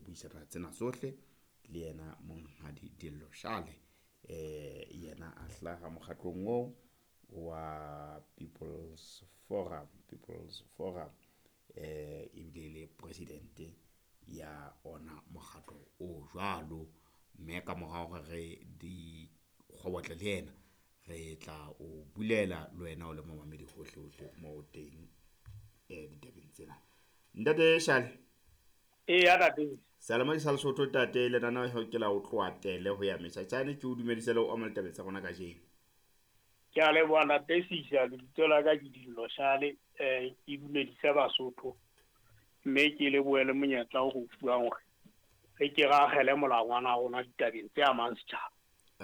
Buisana tsena tsohle le yena Monghadi Dillo Shale. Yena a hlaha mokgatlong oo wa People's Forum, People's Forum ebile le president ya ona mokgatlo o jwalo. Mme ka mora hore re di kgobotle le yena, re tla o bulela le wena o le momamedi hohle hohle mo teng ditabeng tsena. Ntate Shale. Eya ntate. Seyalemoya sa Lesotho ntate, lenaneo ke la ho tloha tele ho ya Meshachane. Ke o dumedise le ho amela ditabeng tsa rona kajeno. Ke a leboha ntate Sisa, lebitso la ka ke Dillo Shale, ke dumedise Basotho. Mme ke lebohe le monyetla o re o fuwang hore re ke re akgele molangwana wa rona ditabeng tse amang setjhaba.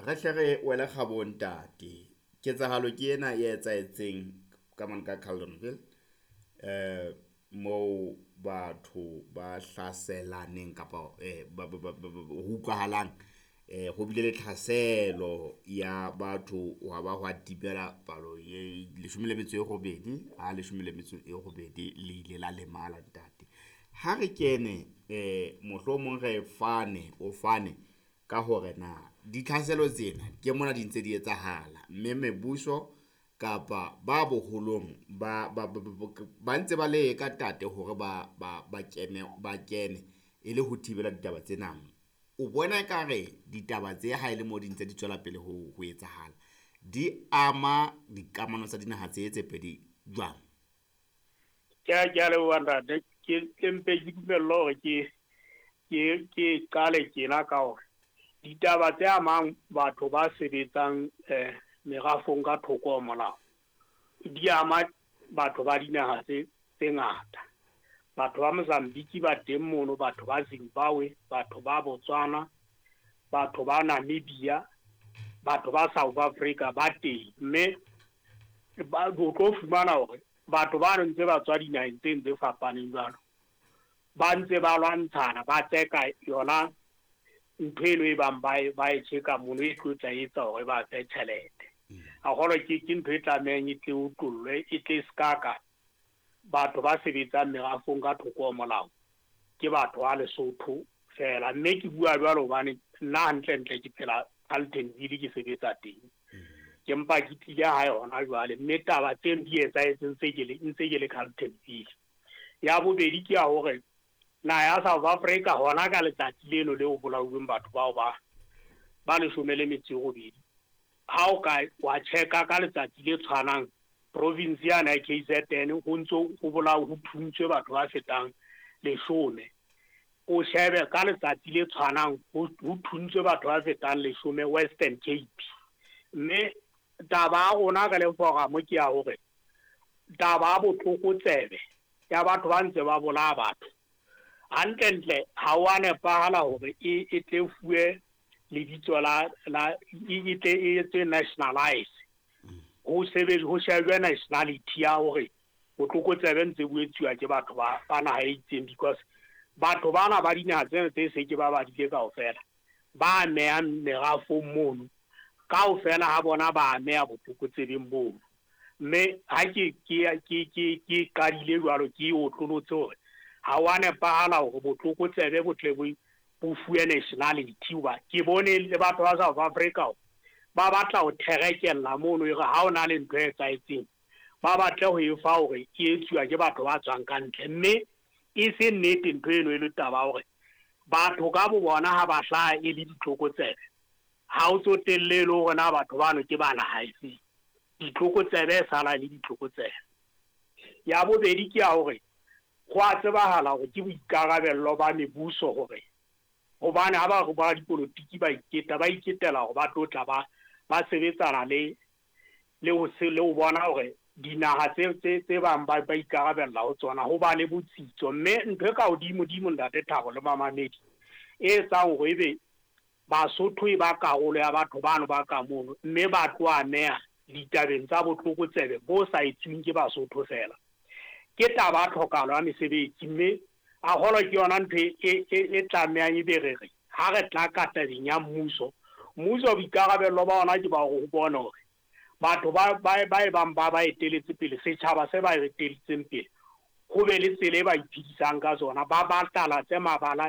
Re hle re wele kgabong ntate. Ketsahalo ke ena e etsahetseng ka mane ka Carltonville, moo batho ba hlaselaneng kapa ho utlwahalang ho bile le tlhaselo ya batho hwa ba hwa timela palo e 18, ha 18 le ile la lemala ntate. Ha re kene mohlomong re fane, o fane ka hore na ditlhaselo tsena ke mona di ntse di etsahala, mme mebuso kapa ba boholong ba ntse ba leka ntate hore ba kene e le ho thibela ditaba tsena. O bona ekare ditaba tse ha e le mo di ntse di tswela pele ho etsahala, di ama dikamano tsa dinaha tse tse pedi jwang? Ke a leboha ntate. Ke mpe ke dumelle hore ke qale tjena ka hore ditaba tse amang batho ba sebetsang merafong ka thoko ho molao di ama batho ba dinaha tse ngata. Batho ba Mozambique ba teng mono, batho ba Zimbabwe, batho ba Botswana, batho ba Namibia, batho ba South Africa ba teng. Mme o tlo fumana hore batho ba ntse ba tswa dinaheng tse tse fapaneng jwalo, ba ntse ba lwantshana, ba tseka yona ntho eno e bang ba e tjheka mono e tlo tla etsa hore ba fe tjhelete. Haholo ke ntho e tlamehang e tle otlollwe, e tle ska ka batho ba sebetsang merafong ka thoko ho molao ke batho ba Lesotho fela. Mme ke bua jwalo hobane nna hantle-ntle ke phela Carltonville, ke sebetsa teng. Ke mpa ke tlile hae hona jwale, mme taba tseno di etsahetseng ntse ke le Carltonville. Ya bobedi ke ya hore naha ya South Africa hona ka letsatsi leno leo bolauweng batho bao ba 18, ha o ka wa checka ka letsatsi le tshwanang province yana ya KZN ho ntso ho bolao ho thuntswe batho ba fetang 10. O shebe ka letsatsi le tshwanang ho thuntswe batho ba fetang 10 Western Cape. Mme taba ya rona re le forum ke ya hore taba ya botlokotsebe ya batho ba ntse ba bolaya batho hantlentle ha wa nepahala hore e tle fuwe lebitso la e tle e etswe nationalize. Ho sebetse ho shejwe nationality ya hore botlokotsebe ntse bo etsuwa ke batho ba naha e itseng, because batho bana ba dinaha tsena tse se ke ba badile kaofela ba amehang merafong mono kaofela ha bona ba ameha botlokotsebeng bono. Mme ha ke qadile jwalo ke otlolotse hore ha wa nepahala hore botlokotsebe bo tle bo fuwe nationality, hoba ke bone le batho ba South Africa ba batla ho therekella mono e re ha o na le ntho e etsahetseng ba batle ho e fa hore e etsuwa ke batho ba tswang ka ntle. Mme e se nnete ntho eno e le taba hore batho ka bo bona ha ba hlaha e le ditlokotsebe, ha o tsotelle le hore na batho bano ke ba naha efe, ditlokotsebe e sala le ditlokotsebe. Ya bobedi ke ya hore ho a tsebahala hore ke boikarabello ba mebuso hore hobane ha ba dipolotiki ba iketa, ba iketela hore ba tlo tla ba sebetsana le ho bona hore dinaha tse bang ba ikarabella ho tsona ho ba le botsitso. Mme ntho e ka hodimo-dimo ntate Thabo le mamamedi e etsang hore ebe Basotho e ba karolo ya batho bano ba ka mono, mme ba tlo ameha ditabeng tsa botlokotsebe bo sa etsuweng ke Basotho fela, ke taba ya tlhokahalo ya mesebetsi. Mme haholo ke yona ntho e tlamehang e be re re ha re tla ka tabeng ya mmuso, mmuso boikarabello ba ona ke ba hore ho bone hore batho ba e bang ba eteletse pele, setjhaba se ba eteletseng pele, ho be le tsela e ba iphedisang ka tsona, ba batalatse mabala.